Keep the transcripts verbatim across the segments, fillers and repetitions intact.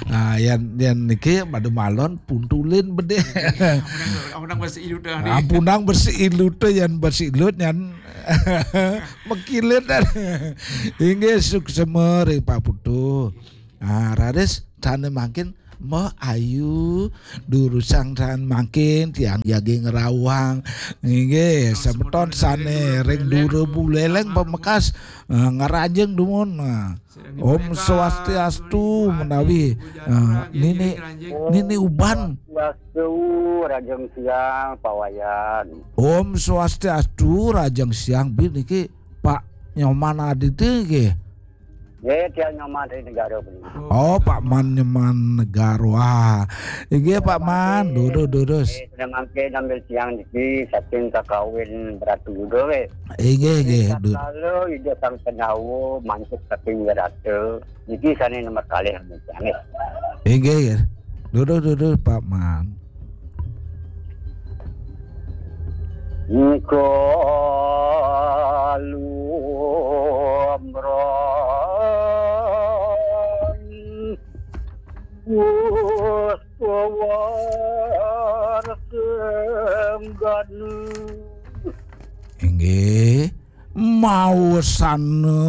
Nah, yan yan niki pada malon puntulin bedih. Ampun nang bersih ilut dah. Ampun nang bersih ilut, yan bersih ilut yan mekilit dah. Inggih, suksma ring Pak Putu. Ah, raris sane mangkin Mbah Ayu, durusang sane mangkin tiang jagi ngrawang. Inggih, semeton sane ring dura Buleleng pamekas, eh, ngranjing dumun. Nah. Om Swastiastu menawi, eh, Nini, Nini Uban. Swastiastu, Rajeng Siang, Pak Wayan. Om Swastiastu, Rajeng Siang, Bi, niki Pak Nyoman Aditya nggih. Nggih, tiang Nyoman dari Negara puniki. Oh, Pak Man Nyoman Negara. Wah. Inggih, Pak Man. Durus, durus. Nggih, sane mangkin nampi tiang niki saking kakawin Bratu Yuda, nggih. Inggih, inggih. Dur- Tatkala Ida Sang Pandawa mantuk saking Wirata, niki sane nomor kalih nampi tiang, nggih. Inggih, inggih. Durus, durus, Pak Man. Engko lumrong Gus Kowar Senggana. Inggih, mawasana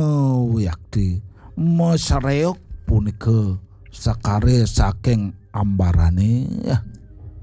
wiakti masreok punika sakare saking ambarane.